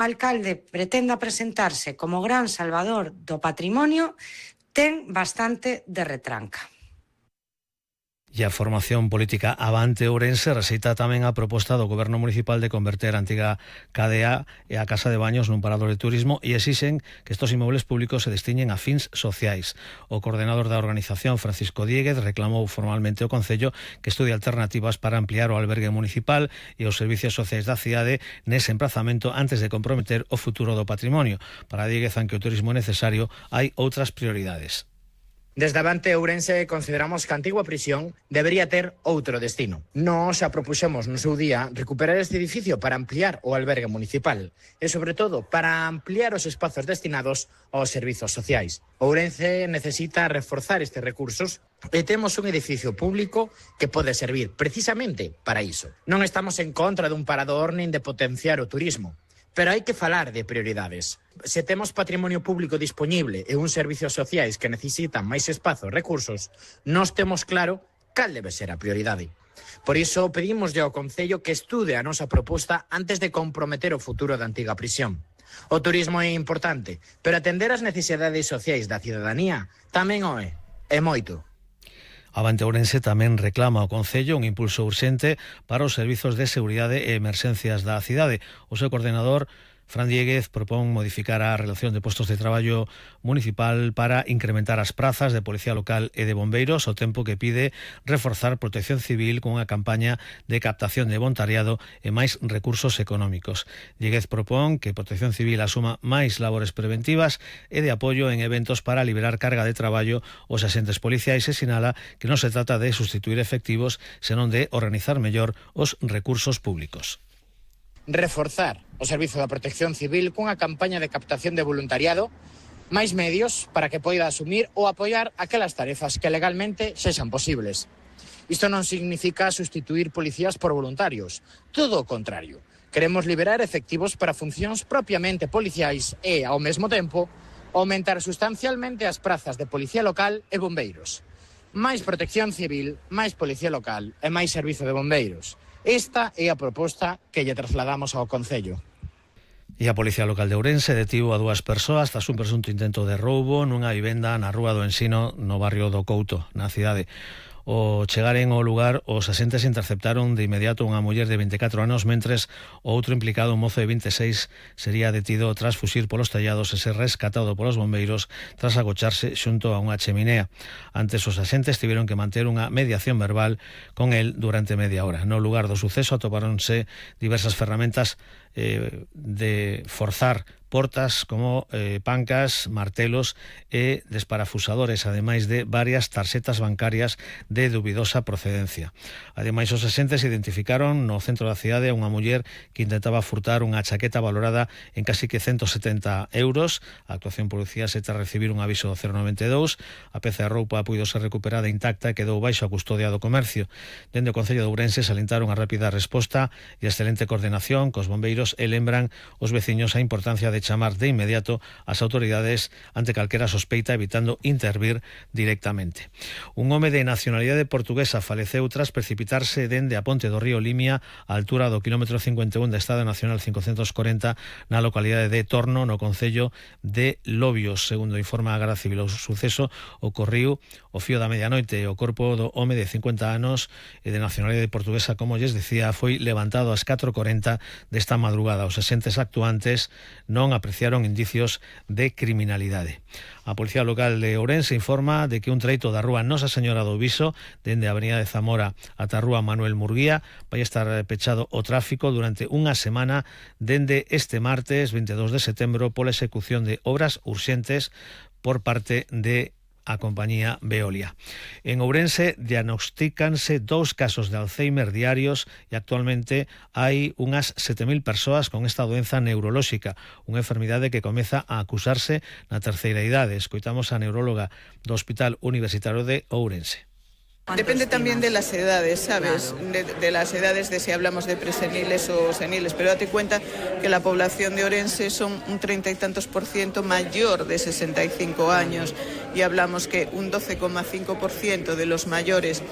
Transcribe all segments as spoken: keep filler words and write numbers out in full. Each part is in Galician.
alcalde pretenda presentarse como gran salvador do patrimonio ten bastante de retranca. E a formación política Avante Ourense rexeita tamén a proposta do Goberno Municipal de converter a antiga K D A e a Casa de Baños nun parador de turismo e exixen que estos inmobles públicos se destiñen a fins sociais. O coordenador da organización, Francisco Dieguez, reclamou formalmente ao Concello que estudie alternativas para ampliar o albergue municipal e os servicios sociais da cidade nese emprazamento antes de comprometer o futuro do patrimonio. Para Dieguez, aunque o turismo é necesario, hai outras prioridades. Desde Avante Ourense consideramos que a antigua prisión debería ter outro destino. Nós xa propuxemos no seu día recuperar este edificio para ampliar o albergue municipal e, sobre todo, para ampliar os espazos destinados aos servizos sociais. Ourense necesita reforzar estes recursos e temos un edificio público que pode servir precisamente para iso. Non estamos en contra dun parador nin de potenciar o turismo, pero hai que falar de prioridades. Se temos patrimonio público disponible e uns servicios sociais que necesitan máis espazo e recursos, nós temos claro cal debe ser a prioridade. Por iso pedimoslle ao Concello que estude a nosa proposta antes de comprometer o futuro da antiga prisión. O turismo é importante, pero atender as necesidades sociais da cidadanía tamén o é, é moito. Avante Ourense tamén reclama ao Concello un impulso urxente para os servizos de seguridade e emerxencias da cidade. O seu coordenador, Fran Dieguez, propón modificar a relación de postos de traballo municipal para incrementar as prazas de Policía Local e de Bombeiros, ao tempo que pide reforzar Protección Civil cunha campaña de captación de voluntariado e máis recursos económicos. Dieguez propón que Protección Civil asuma máis labores preventivas e de apoio en eventos para liberar carga de traballo aos axentes policiais e sinala que non se trata de sustituir efectivos, senón de organizar mellor os recursos públicos. Reforzar o servizo da Protección Civil cunha campaña de captación de voluntariado, máis medios para que poida asumir ou apoiar aquelas tarefas que legalmente sexan posibles. Isto non significa sustituir policías por voluntarios, todo o contrario. Queremos liberar efectivos para funcións propiamente policiais e, ao mesmo tempo, aumentar sustancialmente as prazas de Policía Local e Bombeiros. Máis Protección Civil, máis Policía Local e máis Servizo de Bombeiros. Esta é a proposta que lle trasladamos ao Concello. E a Policía Local de Ourense detivo a dúas persoas tras un presunto intento de roubo nunha vivenda na Rúa do Ensino, no barrio do Couto, na cidade. O chegaren ao lugar, os axentes interceptaron de inmediato unha muller de vinte e catro anos, mentres o outro implicado, un mozo de vinte e seis, sería detido tras fuxir polos tellados e ser rescatado polos bombeiros tras agocharse xunto a unha cheminea. Antes, os axentes tiveron que manter unha mediación verbal con el durante media hora. No lugar do suceso atopáronse diversas ferramentas eh, de forzar portas como eh, pancas, martelos e desparafusadores, ademais de varias tarxetas bancarias de dubidosa procedencia. Ademais, os axentes identificaron no centro da cidade a unha muller que intentaba furtar unha chaqueta valorada en casi que ciento setenta euros. A actuación policial se tras recibir un aviso do cero noventa e dous. A peza de roupa puido ser recuperada intacta e quedou baixo a custodia do comercio. Dende o Concello de Ourense salientaron a rápida resposta e a excelente coordinación cos bombeiros e lembran os veciños a importancia de chamar de inmediato ás autoridades ante calquera sospeita, evitando intervir directamente. Un home de nacionalidade portuguesa faleceu tras precipitarse dende a ponte do río Limia á altura do quilómetro cincuenta e un da Estrada Nacional cincocentos corenta na localidade de Torno, no concello de Lobios. Segundo informa a Garda Civil, o suceso ocorriu o fío da medianoite. O corpo do home de cincuenta anos e de nacionalidade portuguesa, como lles decía, foi levantado ás catro e corenta desta madrugada. Os axentes actuantes non apreciaron indicios de criminalidade. A Policía Local de Ourense informa de que un treito da rúa Nosa Señora do Viso, dende a Avenida de Zamora ata a rúa Manuel Murguía, vai estar pechado o tráfico durante unha semana dende este martes vinte e dous de setembro pola execución de obras urxentes por parte de a compañía Veolia. En Ourense diagnostícanse dous casos de Alzheimer diarios e actualmente hai unhas sete mil persoas con esta doenza neurolóxica, unha enfermidade que comeza a acusarse na terceira idade. Escoitamos a neuróloga do Hospital Universitario de Ourense. Depende también de las edades, ¿sabes? De, de las edades de si hablamos de preseniles o seniles, pero date cuenta que la población de Ourense son un treinta y tantos por ciento mayor de sesenta y cinco años y hablamos que un doce coma cinco por ciento de los mayores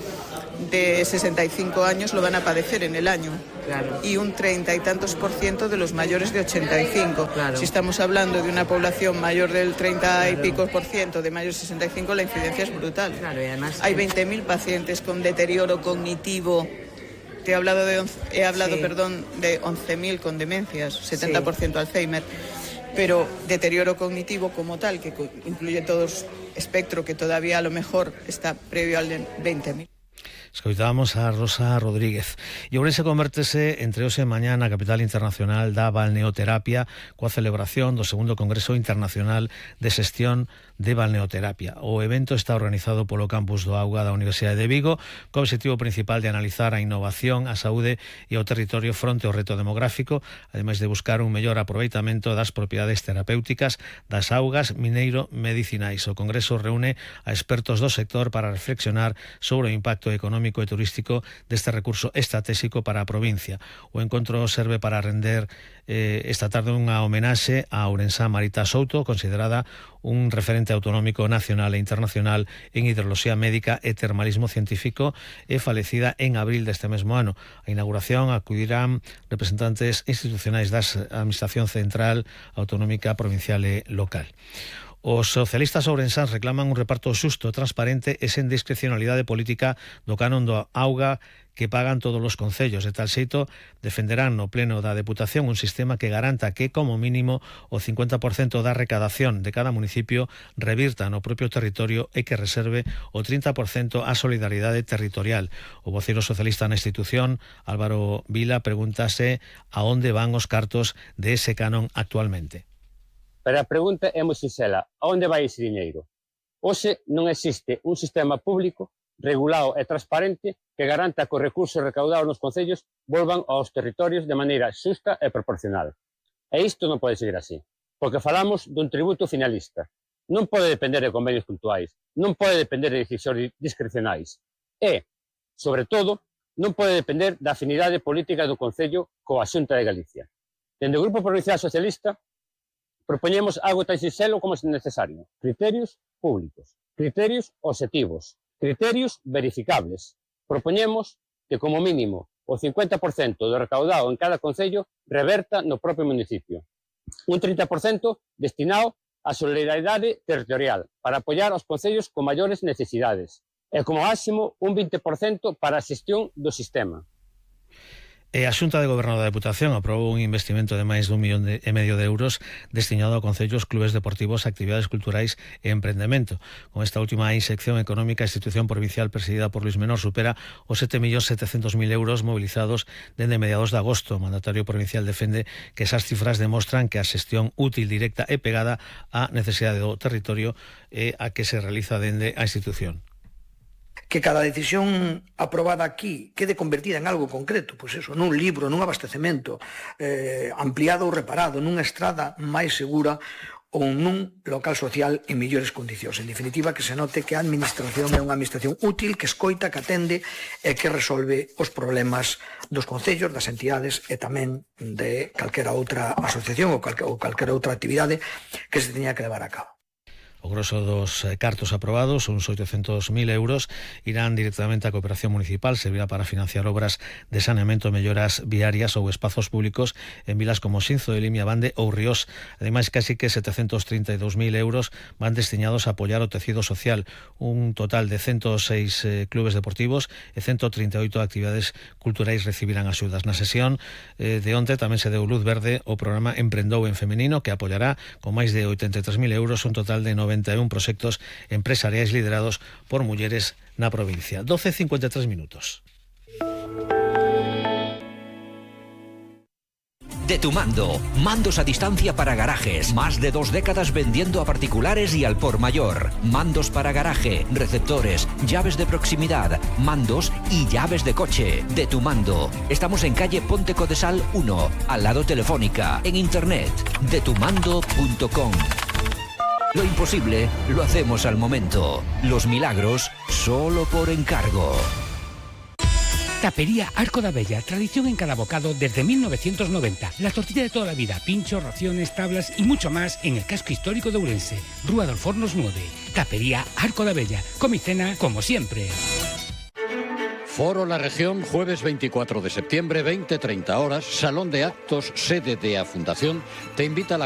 de sesenta y cinco años lo van a padecer en el año. Claro. Y un treinta y tantos por ciento de los mayores de ochenta y cinco. Claro. Si estamos hablando de una población mayor del treinta claro. y pico por ciento, de mayores de sesenta y cinco, la incidencia es brutal. Claro, y además hay veinte mil pacientes con deterioro cognitivo. Te he hablado, de once, he hablado sí. perdón, de once mil con demencias, setenta por ciento sí. Alzheimer. Pero deterioro cognitivo como tal, que incluye todo el espectro que todavía a lo mejor está previo al de veinte mil. Escoitábamos a Rosa Rodríguez. E Ourense convértese entre hoxe e mañá na capital internacional da balneoterapia coa celebración do segundo Congreso Internacional de Xestión de Balneoterapia. O evento está organizado polo Campus do Auga da Universidade de Vigo co obxectivo principal de analizar a innovación, a saúde e o territorio fronte ao reto demográfico, ademais de buscar un mellor aproveitamento das propiedades terapéuticas das augas mineiro-medicinais. O Congreso reúne a expertos do sector para reflexionar sobre o impacto económico e turístico deste recurso estratégico para a provincia. O encontro serve para render eh, esta tarde unha homenaxe a ourensá Marita Souto, considerada un referente autonómico nacional e internacional en hidroloxía médica e termalismo científico, e falecida en abril deste mesmo ano. A inauguración acudirán representantes institucionais da Administración Central, Autonómica, Provincial e Local. Os socialistas ourensáns reclaman un reparto xusto, transparente e sen discrecionalidade política do canon do auga que pagan todos os concellos. De tal xeito, defenderán no pleno da Deputación un sistema que garanta que, como mínimo, o cincuenta por cento da recadación de cada municipio revirta no propio territorio e que reserve o trinta por cento á solidaridade territorial. O voceiro socialista na institución, Álvaro Vila, pregúntase a onde van os cartos de ese canon actualmente. Pero a pregunta é moi sinxela, a onde vai ese diñeiro? Hoxe non existe un sistema público regulado e transparente que garanta que os recursos recaudados nos concellos volvan aos territorios de maneira xusta e proporcional. E isto non pode seguir así, porque falamos dun tributo finalista. Non pode depender de convenios puntuais, non pode depender de decisións discrecionais. E, sobre todo, non pode depender da afinidade política do Concello coa Xunta de Galicia. Dende o Grupo Provincial Socialista, propoñemos algo tan sinxelo como é necesario. Criterios públicos, criterios obxectivos, criterios verificables. Propoñemos que, como mínimo, o cincuenta por cento do recaudado en cada concello reverta no propio municipio. Un trinta por cento destinado á solidaridade territorial para apoiar aos concellos con maiores necesidades. E, como máximo, un vinte por cento para a xestión do sistema. E a Xunta de Goberno da Deputación aprobou un investimento de máis dun millón e medio de euros destinado a concellos, clubes deportivos, actividades culturais e emprendemento. Con esta última inxección económica, a institución provincial presidida por Luis Menor supera os sete millóns setecentos mil euros movilizados dende mediados de agosto. O mandatario provincial defende que esas cifras demostran que a xestión útil, directa e pegada á necesidade do territorio é a que se realiza dende a institución. Que cada decisión aprobada aquí quede convertida en algo concreto, pois eso, nun libro, nun abastecemento eh, ampliado ou reparado, nunha estrada máis segura ou nun local social en mellores condicións. En definitiva, que se note que a administración é unha administración útil, que escoita, que atende e que resolve os problemas dos concellos, das entidades e tamén de calquera outra asociación ou, calque, ou calquera outra actividade que se teña que levar a cabo. O grosso dos cartos aprobados, uns oitocentos mil euros, irán directamente á cooperación municipal, servirá para financiar obras de saneamento, melloras viarias ou espazos públicos en vilas como Xinzo de Limia, Bande ou Ríos. Ademais, casi que setecentos trinta e dous mil euros van destinados a apoiar o tecido social, un total de ciento seis eh, clubes deportivos e ciento trinta e oito actividades culturais recibirán axudas. Na sesión eh, de onte tamén se deu luz verde o programa Emprendou en Femenino, que apoiará con máis de oitenta e tres mil euros un total de noventa e un proxectos empresariais liderados por mulleres na provincia. doce e cincuenta e tres minutos. De Tu Mando, mandos a distancia para garajes, más de dos décadas vendiendo a particulares y al por mayor. Mandos para garaje, receptores, llaves de proximidad, mandos y llaves de coche. De Tu Mando. Estamos en calle Ponte Codesal uno, al lado Telefónica, en internet, de tu mando punto com. Lo imposible lo hacemos al momento. Los milagros solo por encargo. Tapería Arco da Bella, tradición en cada bocado desde mil novecientos noventa. La tortilla de toda la vida, pinchos, raciones, tablas y mucho más en el casco histórico de Ourense. Rúa dos Fornos nueve. Tapería Arco da Bella. Comicena como siempre. Foro La Región, jueves veinticuatro de septiembre, veinte treinta horas, Salón de Actos, sede de A Fundación, te invita a la